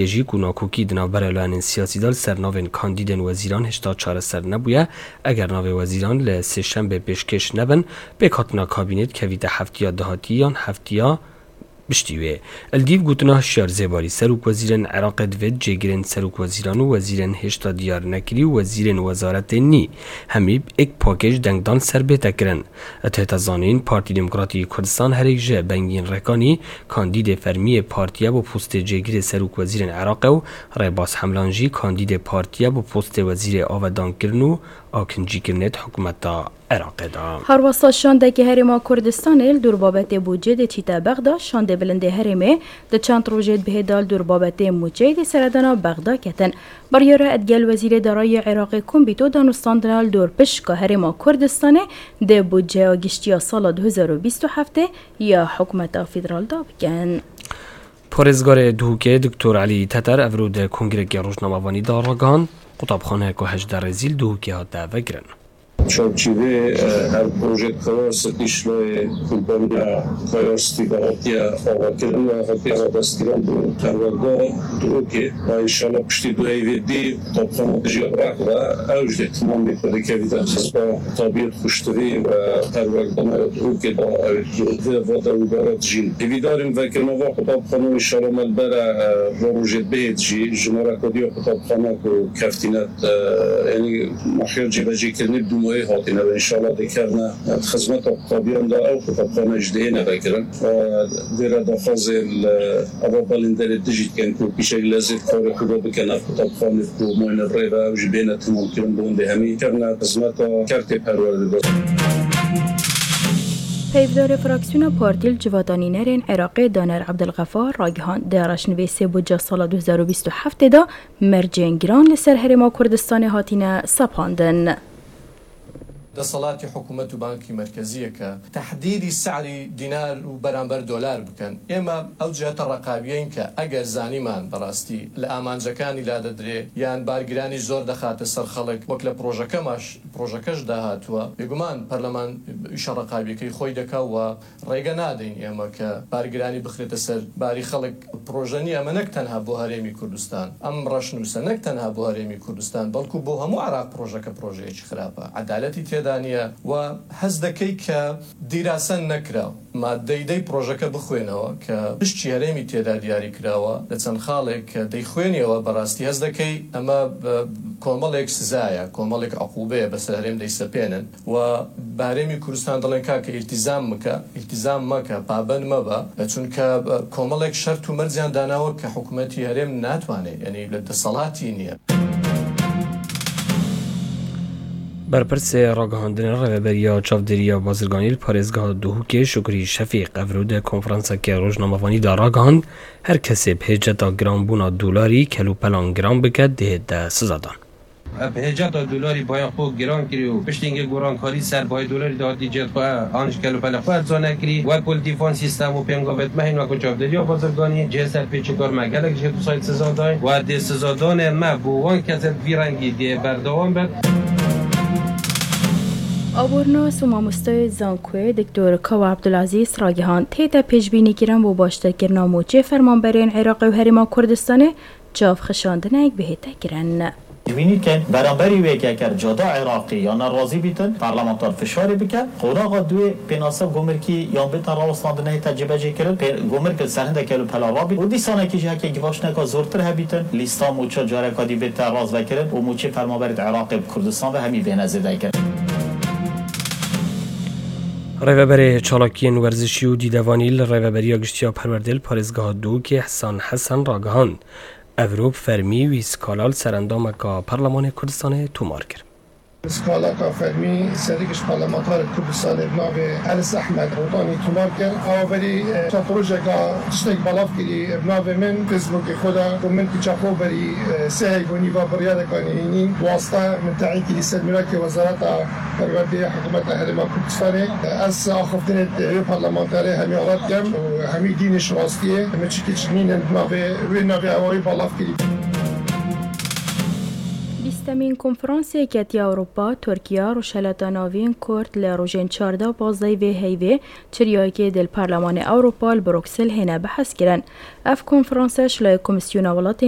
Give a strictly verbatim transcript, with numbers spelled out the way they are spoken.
Jî ku nakokî di navbera layenên siyasî de li ser navên kandîdên wezîran hêşta çareser nebûye, eger navê wezîran li Sêşembê pêşkêş nebin, pêkhatina kabînê dikevîte heftiya dahatî yan heftiya piştî wê. Li dîv gotina Hişyar Zêbarî, serokwezîrên Iraqê divêt cêgirên serokwezîran û wezîrên hêşta diyar nekirî û wezîrên wezaretê nî, hemî êk pakêj dengdan li ser bête kirin. Tête zanîn, Partî Demokratî Kurdistan herêk ji Bengîn Rekanî, kandîdê fermî yê partî ye bo postê cêgirê serokwezîrên Iraqê û Rêbaz Hemlan jî kandîdê partî ye bo postê wezîrê avedankirin û akincîkirinê di hikûmeta Iraqê de. Herwesa şandekî Herêma Kurdistanê li dûr babetê bûcê dê çîte Bexda, şandê bilindê herêmê di çend rojê dibihê de li dûr babetê mûçeyê dê seredana Bexda ketin. Biryara digel Wezîrê Darayî Iraqê Kumbîto danûstandina li dor pişka Herêma Kurdistanê di budceya giştî ya sala du hezar û bîst û heftê ya Hikûmeta Federal de bikin. Parêzgarê Duhokê Doktor Elî Teter evro di kongrekê rojnamevanî de ragihand, qutabxaneyeke hejdeh rêzî li Duhokê hate vekirin. Çavçîvê, e, ev projê Kawasê Qîşloyê qurbaniya Kayastî ve hatiye avakirin ve hatiye radestkirin bi perwerda Duhokê. Ve înşallah piştî du heyvê dî qutabxana dijî Iraq ve ew jî dê timam bê ku dikevîte xizba tabiyet xuştirî ve perwerdana Duhokê de ew di va de wî bara dijîn. Hêvîdarîn vekirina va qutabxana înşallah me li bere, e, va rojê bihêt jî jimareka diya qutabxana ku keftîne, e, yanî mahiya cîbecîkirinê bi dûmayê hatîne ve înşallah dikevne, e, xizmeta qutabîyan de ew qutabxane jî dihêne vekirin. E, vêre daxwazê li ava balînderê dijî dikin ku pîşek lezê karê xwe bikin ev qutabxanê ku mayne bi rê ve ew jî bêne temamkirin bo hindê hemî kevne xizmeta kertê perwerdê de. Hevdarê fraksiyona Partî li Civata Nînerên Iraqê Daner Ebdilxefar ragihand, di reşnivîsê budca sala du hezar û bîst û heftê de mercên giran li ser Herêma Kurdistanê hatine sepandin. دەسەڵاتی حکوومەت و بانکی مەرکەزیە کە تەحدیدی سعری دینار و بەرامبەر دۆلار بکەن. ئێمە ئەو جهتە ڕقابیەین کە ئەگەر زانیمان بەڕاستی لە ئامانجەکانی لادەدرێ یان بارگرانی زۆر دەخاتە سەر خەڵک، وەک لە پرۆژەکەماش، پرۆژەکەش داهاتووە، بێگومان پەرلەمان ئیشە ڕقابیەکەی خۆی دەکا و ڕێگە نادەین ئێمە کە بارگرانی بخرێتە سەر باری خەڵک. پرۆژە نییە، ئەمە نەک تەنها بۆ هەرێمی کوردستان، ئەم ڕەشنووسە نەک تەنها بۆ هەرێمی کوردستان، بەڵکو بۆ هەموو عێراق پرۆژەکە پرۆژەیەکی خراپە، عەدالەتی تێدا نییە و هەست دەکەی کە دیراسە نەکراوە. مادەی دەی پرۆژەکە بخوێنەوە کە پشتی هەرێمی تێدا دیاری کراوە لە چەند خاڵێک کە دەیخوێنیەوە، بەڕاستی هەست دەکەی ئەمە بە کۆمەڵێک سزایە، کۆمەڵێک عقوبەیە بەسەر هەرێم دەیسەپێنن و بە هەرێمی کوردستان دەڵێن کاکە ئیلتیزام مکە، ئیلتیزام مەکە، پابەند مەبە، چونکە کۆمەڵێک شەرت و مەرجیان داناوە کە حکوومەتی هەرێم ناتوانێت، یعنی لە دەسەڵاتی نییە. Berpirsê ragihandinê Rêveberiya Çavdêriya Bazirganî li parêzgeha Duhokê Şukrî Şefîq evro di konferanseke rojnamevanî de ragihand, her kesê bi hêceta giranbûna dolarî kelûpelan giran bike, dihête sizadan. Bi hêceta dolarî baya xwe giran kirî û piştî hingê gorankarî ser bayê dolarî de hatî cihê xwe an ji kelûpelê xwe erza nekirî. Wek ku li dîvan sîstem û pêngavêt me hîn wek ku çavdêriya bazirganî cihê serpêçikar me gelek jê dusayî siza dayîn û dê sizadanê me bo wan kesên vî rengî dê berdewam bin. Abornas û mamostayê zankoyê Doktor Kawa Abdulazîz ragihand, tête pêşbînîkirin bo baştirkirina mûçê fermanberên Iraqê û Herêma Kurdistanê çavxişandinek bihête kirin. Pêşbînî dikin, beramberî wê ke ker cada Iraqî ya ne razî bîtin, parlamenter fişarê bike. Qonaxa duê pênasa gumrikî yan bête rawestandin hête cêbecêkirin, pê-, gumrik li ser hindek kelûpela rabît û dîsanekî jî heke givaşneka zortir hebîtin, lîsta mûça careka dî bête razvekirin û mûçê fermanberê di Iraqê bi Kurdistan ve hemî bêhne zêdekirin. Rêveberê çalakiyên werzişî û dîdevanî li Rêveberiya Giştî ya Perwerdê li parêzgeha Duhokê Hesen Hesen ragihand, evro bi fermî wî skala li ser endameka Perlemanê Kurdistanê tomar kir. Skalaka fermî serî giş parlamentarê Kurdistanê bi navê Elis Ehmed Rotanî tomar kir. Ew berî, e, çend rojeka tiştek belav kirî bi navê min Facebookê xwe de ku min kiça xwe berî, e, sê heyv û nîva biryareka nihênî wasta min teyîn kirî ser mîrakê Wezareta Perwerdê Hikûmeta Herêma Kurdistanê. Ez axiftinê wê parlamenterê hemî ala dikem û hemî dînê ji rastiyê min çi kiç nînin bi navê wê navê ewa wê belav kirî. Bîstemîn konferansê Yeketiya Ewropa, Tirkiye, Rojhelata Navîn, Kurd li rojên çardeh û pazdeh vê heyvê çiryayekê di li Parlemanê Ewropa li Bruksel hêne behezkirin. Ev konferanse ji layê Komîsyona Welatên